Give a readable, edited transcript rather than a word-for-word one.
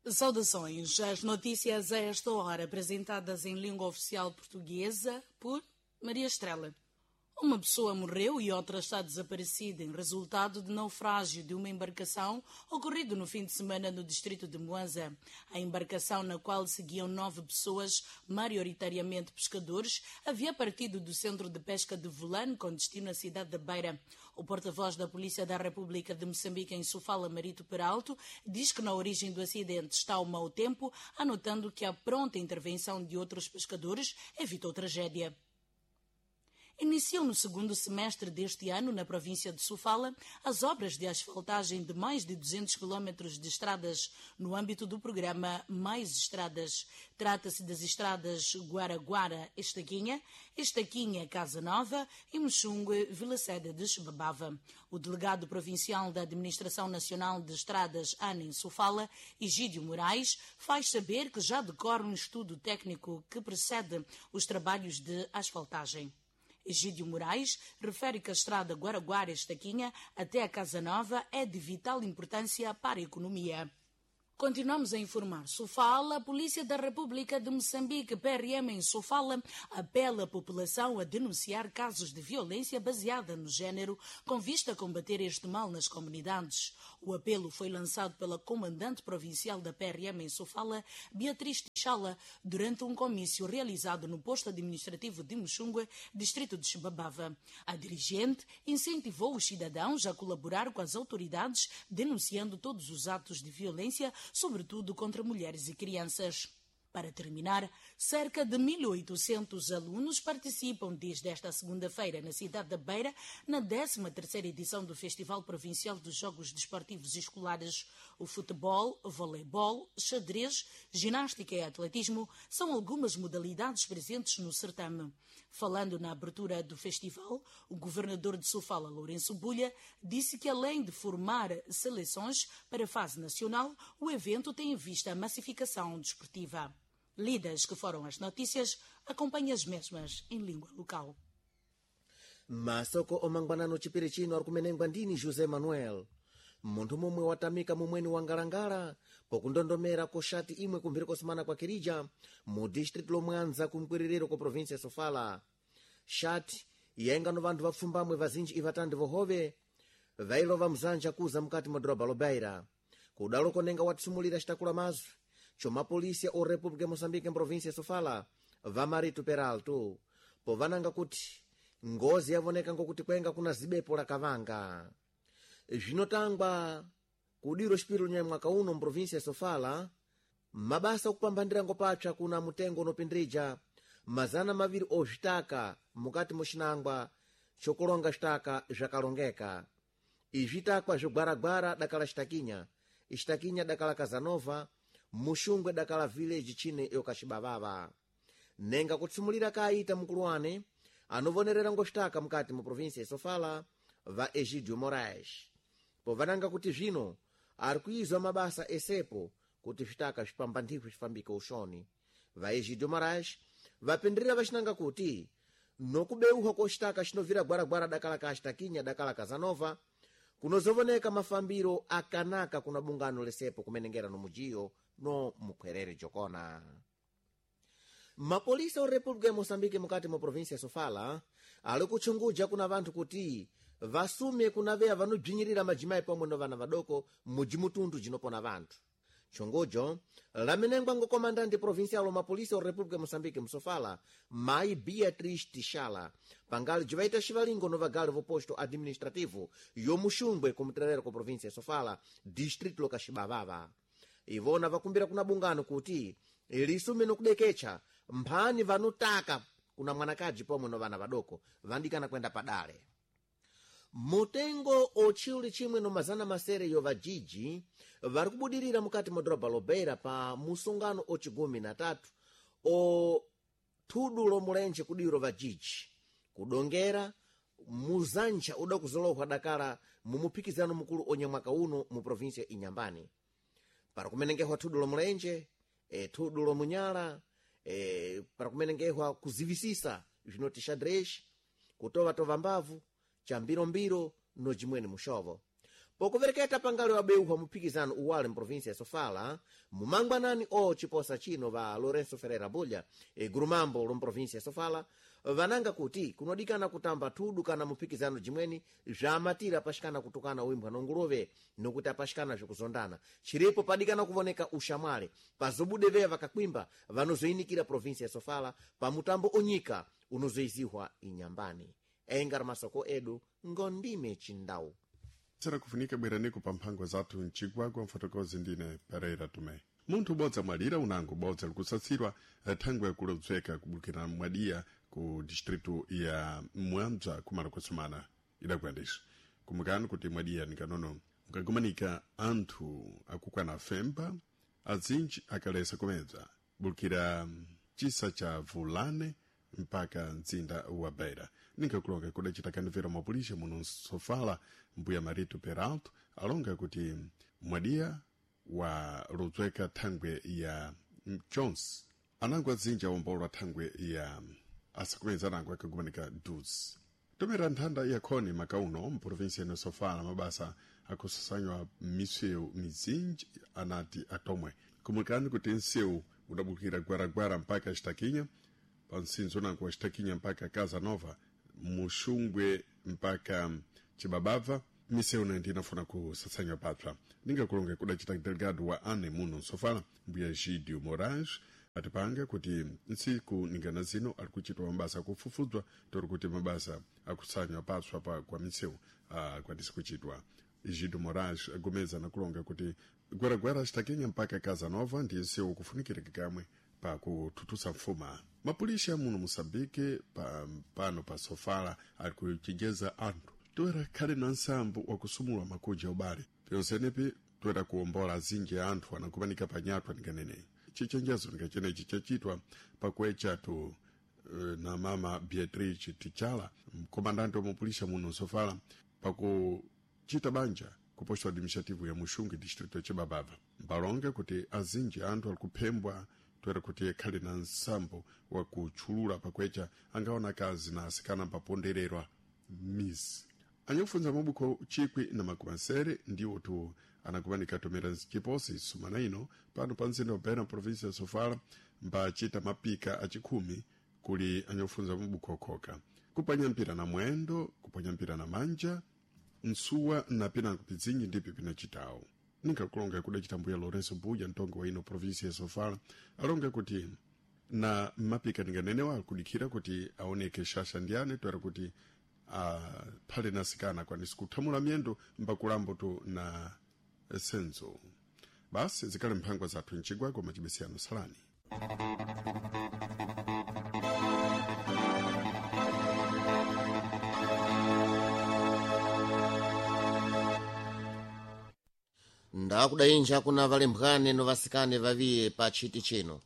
Saudações. As notícias a esta hora apresentadas em língua oficial portuguesa por Maria Estrela. Uma pessoa morreu e outra está desaparecida em resultado de naufrágio de uma embarcação ocorrido no fim de semana no distrito de Moanza. A embarcação, na qual seguiam 9 pessoas, maioritariamente pescadores, havia partido do centro de pesca de Volane com destino à cidade da Beira. O porta-voz da Polícia da República de Moçambique em Sofala, Marito Peralto, diz que na origem do acidente está o mau tempo, anotando que a pronta intervenção de outros pescadores evitou tragédia. Iniciam no segundo semestre deste ano, na província de Sofala, as obras de asfaltagem de mais de 200 quilómetros de estradas no âmbito do programa Mais Estradas. Trata-se das estradas Guaraguara, Estaquinha, Estaquinha, Casa Nova e Mexungue, Vila Sede de Chibabava. O delegado provincial da Administração Nacional de Estradas, ANA, em Sofala, Egídio Moraes, faz saber que já decorre um estudo técnico que precede os trabalhos de asfaltagem. Egídio Moraes refere que a estrada Guaraguara-Estaquinha até a Casa Nova é de vital importância para a economia. Continuamos a informar. Sofala, a Polícia da República de Moçambique, PRM em Sofala, apela a população a denunciar casos de violência baseada no género, com vista a combater este mal nas comunidades. O apelo foi lançado pela comandante provincial da PRM em Sofala, Beatriz Tixala, durante um comício realizado no posto administrativo de Muxungue, distrito de Chibabava. A dirigente incentivou os cidadãos a colaborar com as autoridades, denunciando todos os atos de violência, sobretudo contra mulheres e crianças. Para terminar, cerca de 1.800 alunos participam desde esta segunda-feira na cidade da Beira, na 13ª edição do Festival Provincial dos Jogos Desportivos Escolares. O futebol, voleibol, xadrez, ginástica e atletismo são algumas modalidades presentes no certame. Falando na abertura do festival, o governador de Sofala, Lourenço Bulha, disse que além de formar seleções para a fase nacional, o evento tem em vista a massificação desportiva. Lidas que foram as notícias, acompanhe as mesmas em língua local. Masoko omangwanano chipiri chino ari kumenengwa ndini José Manuel. Munthu momwe watamika mumweni wa ngalangala pokundondomera koxati imwe kumphiri kosimana kwa Kirija mu distritu lomwanza kumkwiririro kwa província ya Sofala. Xati yenga no vanthu vapfumbamwe vazinji ivatandi vohove vailova mzanja kuza mukati mwa doroba lobeira. Kudalo konenga watsumulira xitakula mazwi chomapolisia o República ya Moçambique em província ya Sofala vamarito Peralto povananga kuti ngozi yavoneka ngokuti kwenga kuna zibepo la kavanga. Zvinotangwa kudiro xipiro nya mwaka uno mprovinsia ya Sofala mabasa okupambanira ngopapsa kuna mutengo unopindrija 200 ozvitaka mukati muxinangwa chokulonga xitaka zvakalongeka. Izvitakwa zvigwaragwara dakala Xitakinya, Xitakinya dakala Kazanova, Muxungwe dakala village chine yokaxibavava. Nenga kutsumulira kaita mukuluwane anovonerera ngoxitaka mukati mu província ya Sofala va Egidio Moraes povananga kuti zvino ari kuizwa mabasa esepo kuti zvitaka zvipambandihwe zvifambike uxoni. Va Egidio Moraes vapindirira vaxinanga kuti nokubeuhwa koxitaka xinovira gwaragwara dakala ka Xitakinya dakala Kazanova kunozovoneka mafambiro akanaka kuna bungano lesepo kumenengera no mujiyo no mukhwerere jokona. Mapolisa o República ya Moçambique mukati mwa província ya Sofala ali kutchunguja kuna vanthu kuti vasume kunaveya vanobzinyirira majimayi pomwe no vana vadoko mujimutundu jinopona vanthu. Tchungujo lamenengwa ngokomandante provincial mapolisa o República ya Moçambique msofala Mai Beatriz Tixala pangali jivaita xivalingo no vagali voposto administrativo yomuxungwe kumtererero ku província ya Sofala distrito lokaxibavava. Ivona vakumbira kuna bungano kuti lisume nokudekecha mphani vanotaka kuna mwanakaji pomwe no vana vadoko vandikana kwenda padale. Mutengo otchiuli chimwe no 600 yo vajiji vari kubudirira mukati mwa doroba lobeira pa musungano ocigumi na tatu o thudu lomulenje kudiro vajiji kudongera muzantcha uda kuzolohwa dakala mumuphikizano mukulu onye mwaka uno mu província Inyambani. Para kumenengehwa thudu lomulenje, thudu lomunyala, para kumenengehwa kuzivisisa zvinoti xadrez, kutovatova mbavu, chambirombiro no jimweni muxovo. Pokuvereketa pangale wabeuha muphikizano uwale mprovinsia ya Sofala, mumangwanani o chiposa chino va Lourenço Ferreira Bulha, gurumambo lomprovinsia ya Sofala, vananga kuti kunodikana kutamba thudu kana muphikizano jimweni zvamatira apashikana kutukana uimbwa nongulove nokuti apashikana zvikuzondana. Chiripo padikana kuvoneka ushamwali pazobude veya vakakwimba vanozoinikira provinsia ya Sofala pa mutambo onyika unozoizihwa inyambani. Engari masoko edu ngondime chindau. Sera kufunika bweraniko pa mphango zathu mchigwagwa mfotokozi ndine Pereira Tume. Munthu ubodza mwalira unango bodza likusatsirwa thangwe kulodzweka kubukira mwadiya ku distritu ya Mwambza kumala kusumana idakuyandisa. Kumukani kuti mwadiya nikanono mukagumanika anthu akukwana femba azinji akalesa kumedza bulukira chisa cha Vulane mpaka mzinda wa Beira. Ninkakulonga kudacita kanivero mapulisha muno Sofala mbuya Marito Peralto alonga kuti mwadiya wa ludzweka thangwe ya Jones anango azinji awombolwa thangwe ya asakumeza anango akagumanika dus. Tomera nthanda ya khoni makauno mprovinsia ino Sofala mabasa akusasanywa misewu mizinji anati atomwe. Kumukani kuti nsewu udabukira gwaragwara mpaka Xitaquiña, pa msinzo nango wa Xitaquiña mpaka Casa Nova, Muxungwe mpaka Chibabava, misewu nayo inafuna kusasanywa papsa. Ningakulonga kudacita delegado wa ane muno Sofala mbuya Gidio Moraes atipanga kuti ntsiku ningana zino ali kuchitwa mabasa akufufudzwa tori kuti mabasa akusanywa patswa pa kwa misewu akwanise kuchitwa. Gidio Moraes agomeza nakulonga kuti gwaragwara Xitaquiña mpaka Casa Nova ndi nsewu kufunikirika kamwe pakuthuthusa mfuma. Mapulisha muno Moçambique pano pa Sofala ali kuchenjeza anthu toera khale na nsambo wakusumula makuja ubale pyonsenepi toera kuwombola azinji anthu anakumanika panyatwa ninganene. Chichenjezo ningachenechi chachitwa pakuechatu na mama Beatrice Tichala mkomandante wa mapulisha muno Sofala pakuchita banja ku posto administrativo ya Muxungue distrito ya Chibabava. Mbalonga kuti azinji anthu ali kuphembwa toera kuti akhale na nsambo wakutchulula pakwecha angaona akazi na asikana mpapondererwa mizi. Anyakufunza mabuko 1,700 ndiwo tu anakumanika tomera chiposi sumana ino pano pa mzinda wa Beira provinsia ya Sofala mbachita mapika achikhumi kuli anyakufunza mabuko okhoka kupanya mpira na mwendo, kupanya mpira na manja, nsuwa na pinango pizinji ndipyo pinachitawo. Ninkakulonga kudacita mbuya Lourenço Buja mtongo wa ino provinsia ya Sofala alonga kuti na mapika ninganenewa akudikhira kuti aoneke shasha ndiyane toera kuti aphale na asikana akwanise kuthamula myendo mbakulambo tu na senzo. Basi zikhale mphangwa zathu mchigwagwa macibesiyano salani. Ndakudayinja kuna valembwane no vasikane vaviye pa chiti chino.